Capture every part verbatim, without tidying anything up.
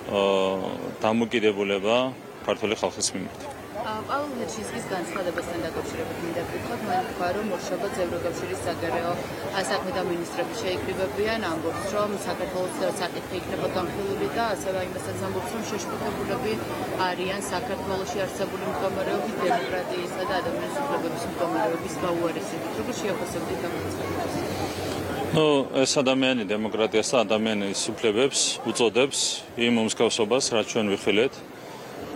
დამოკიდებულება ქართული ხალხის მიმართ. პავლე ნეჩინსკის განცხადებასთან დაკავშირებით მინდა ვკითხოთ, მან თქვა, რომ მორშობაც ევროკავშირის საგარეო საქმეთა მინისტრები შეიკრიბებიან, ამბობს, რომ საქართველოს საკითხი იქნება განხილული და ასევე იმასაც ამბობს, რომ შეშფოთებულები არიან საქართველოში არსებული მდგომარეობის, დემოკრატიისა და ადამიანის უფლებების მდგომარეობის გაუარესებით. როგორ შეაფასებთ ამ განცხადებას? ნუ ეს ადამიანი დემოკრატიას და ადამიანის უფლებებს უწოდებს იმ უმსგავსობას, რაც ჩვენ ვიხილეთ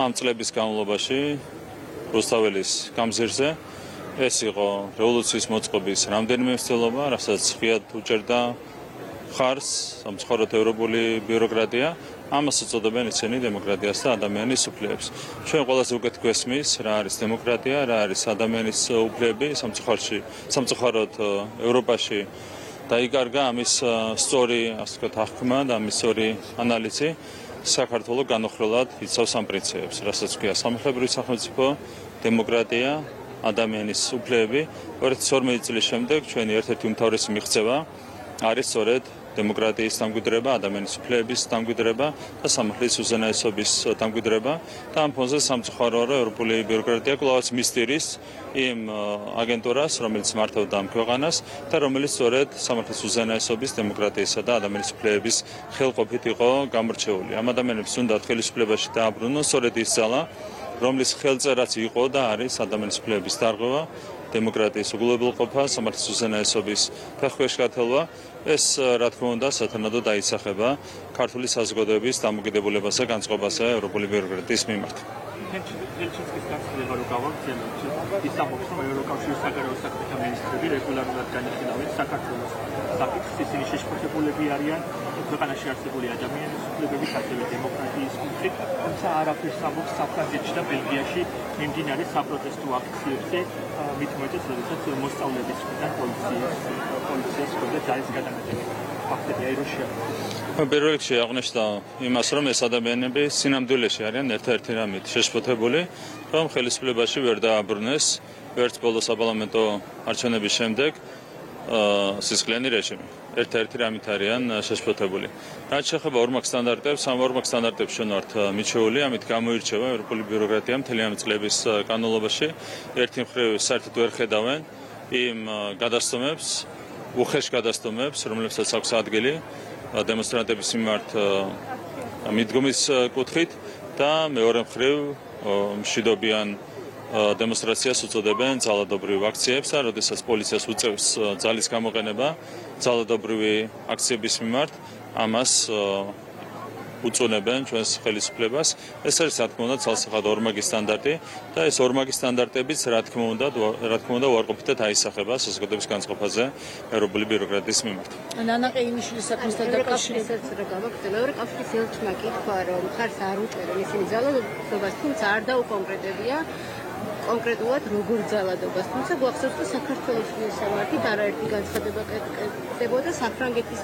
ამ წლების განმავლობაში რუსთაველის გამზირზე. ეს იყო რევოლუციის მოწყობის რამდენიმე მცდელობა, რასაც ღიად უჭერდა ხარს სამწუხაროდ ევროპული ბიუროკრატია. ამას უწოდებენ ისინი დემოკრატიას და ადამიანის უფლებებს. ჩვენ ყველაზე უკეთ გვესმის, რა არის დემოკრატია, რა არის ადამიანის უფლებები სამწუხაროში, სამწუხაროდ ევროპაში დაიკარგა ამის სწორი, ასე ვთქვათ, აღქმა და ამის სწორი ანალიზი. საქართველოს განუხრელად იცავს ამ პრინციპებს, რასაც ქვია სამართლებრივი სახელმწიფო, დემოკრატია, ადამიანის უფლებები. ორი ათი ორმეტი წლის შემდეგ ჩვენი ერთ-ერთი უმთავრესი მიღწევა არის სწორედ დემოკრატიის დამკვიდრება, ადამიანის უფლებების დამკვიდრება და სამართლის უზენაესობის დამკვიდრება და ამ ფონზე სამწუხაროა, რომ ევროპული ბიუროკრატია კვლავაც მისდირის იმ აგენტურას, რომელიც მართავდა ამ ქვეყანას და რომელიც სწორედ სამართლის უზენაესობის, დემოკრატიისა და ადამიანის უფლებების ხელყოფით იყო გამორჩეული. ამ ადამიანებს უნდა ხელისუფლებაში დააბრუნონ სწორედ ის ძალა, რომლის ხელწერაც იყო და არის ადამიანის უფლებების დარღვევა, დემოკრატიის უგულებელყოფა, სამართლის უზენაესობის ფეხქვეშგათელვა. ეს რა თქმა უნდა სათანადოდ დაისახება ქართული საზოგადოების დამოკიდებულებასა განწყობასა ევროპული ბიუროკრატიის მიმართ. ნეჩინსკის განცხადება რო გავაგზავნოთ, ის ამბობს, რომ ევროკავშირის საგარეო საქმეთა მინისტრები რეგულარულად განიხილავენ საქართველოს საკითხს, ისინი შეშფოთებულები არიან ქვეყანაში არსებული ადამიანის უფლებების, ასევე დემოკრატიის კუთხით, თუმცა არაფერს ამბობს საფრანგეთში და ბელგიაში მიმდინარე საპროტესტო აქციებზე, მით უმეტეს, როდესაც მოსწავლეების მხრიდან პოლიციის პოლიციას ხდება ძალის გადამეტება. ფაქტია, რომ შეაძლოა. პირველ რიგში აღნიშნა იმას, რომ ეს ადამიანები სინამდვილეში არიან ერთ-ერთი რამით შეშფოთებული, რომ ხელისუფლებაში ვერ დააბრუნეს ვერც ბოლო საპარლამენტო არჩევნების შემდეგ სისხლიანი რეჟიმი. ერთ-ერთი რამით არიან შეშფოთებული. რაც შეეხება ორმაგ სტანდარტებს, ამ ორმაგ სტანდარტებს ჩვენ ვართ მიჩეული, ამით გამოირჩევა ევროპული ბიუროკრატია მთელი ამ წლების განმავლობაში. ერთი მხრივ საერთოდ ვერ ხედავენ იმ გადასტომებს, უხეშ გადასტომებს, რომლებსაც აქვს ადგილი დემონსტრანტების მიმართ მიდგომის კუთხით და მეორე მხრივ მშვიდობიან დემონსტრაციას უწოდებენ ძალადობრივ აქციებს და როდესაც პოლიციას უწევს ძალის გამოყენება ძალადობრივი აქციების მიმართ, ამას უწუნებენ ჩვენს ხელისუფლებას. ეს არის რა თქმა უნდა ცალსახად ორმაგი სტანდარტი და ეს ორმაგი სტანდარტებიც რა თქმა უნდა რა თქმა უნდა უარყოფითად აისახება საზოგადოების განწყობაზე ევროპული ბიუროკრატიის მიმართ. ნანა ყეიმიშვილის საქმესთან დაკავშირებით რა გავაკეთე? ევროკავშირის ელჩმა კითხვა, რომ ხარს არ უჭერენ ისინი ძალადობას, თუმცა არ დაუკონკრეტებია კონკრეტულად როგორ ძალადობას. თუმცა გვახსოვს, რომ საქართველოს მისამართით არაერთი განცხადება კეთდებოდა, საფრანგეთის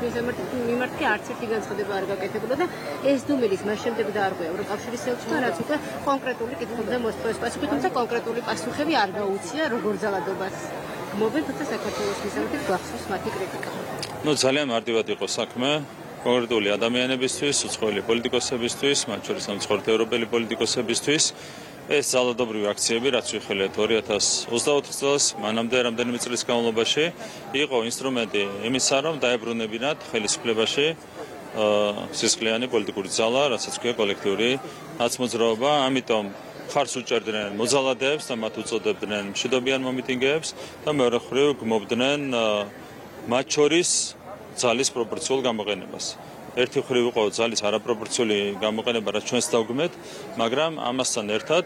მიმართ კი არც ერთი განცხადება არ გაკეთებულა და ეს დუმილის მას შემდეგ დაარღვია ევროკავშირის ელჩმა, რაც უკვე კონკრეტული კითხვებზე მოსთხოვს პასუხი, თუმცა კონკრეტული პასუხები არ გაუწია როგორ ძალადობას გმობენ, თუმცა საქართველოს მისამართით გვახსოვს მათი კრიტიკა. ნუ ძალიან მარტივად იყო საქმე. კონკრეტული ადამიანებისთვის, უცხოელი პოლიტიკოსებისთვის, მათ შორის სამწუხაროდ ევროპელი პოლიტიკოსებისთვის ეს ძალადობრივი აქციები, რაც ვიხილეთ ორი ათას ოცდაოთხ წელს, მანამდე რამდენიმე წლის განმავლობაში იყო ინსტრუმენტი იმისა, რომ დაებრუნებინათ ხელისუფლებაში სისხლიანი პოლიტიკური ძალა, რასაც ქვია კოლექტიური ნაცმოძრაობა, ამიტომ ხარს უჭერდნენ მოძალადეებს და მათ უწოდებდნენ მშვიდობიან მომიტინგეებს და მეორე მხრივ გმობდნენ მათ შორის ძალის პროპორციულ გამოყენებას. ერთი მხრივ იყო ძალის არაპროპორციული გამოყენება, რაც ჩვენს დავგმეთ, მაგრამ ამასთან ერთად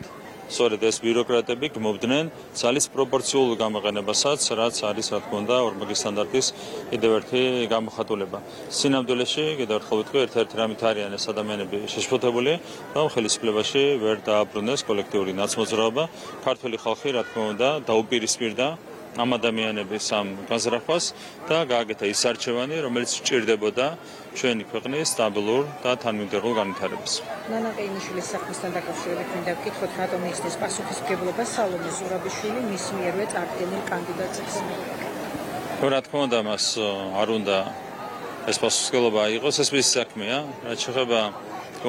სწორედ ეს ბიუროკრატები გმობდნენ ძალის პროპორციულ გამოყენებასაც, რაც არის რა თქმა უნდა ორმაგი სტანდარტის კიდევ ერთი გამოხატულება. სინამდვილეში, კიდევ ერთხელ ვიტყვი, ერთ-ერთი რამით არიან ეს ადამიანები შეშფოთებული, რომ ხელისუფლებაში ვერ დააბრუნეს კოლექტიური ნაცმოძრაობა. ქართველი ხალხი რა თქმა უნდა დაუპირისპირდა ამ ადამიანების ამ განზრახვას და გააკეთა ის არჩევანი, რომელიც სჭირდებოდა ჩვენი ქვეყნის სტაბილურ და თანმიმდევრულ განვითარებას. ნანა ყეიმიშვილის საქმესთან დაკავშირებით მინდა ვკითხოთ, რატომ იხსნის პასუხისმგებლობა სალომე ზურაბიშვილი მის მიერვე წარდგენილ კანდიდატებს? რა თქმა უნდა, მას არ უნდა ეს პასუხისმგებლობა აიღოს, ეს მისი საქმეა. რაც შეეხება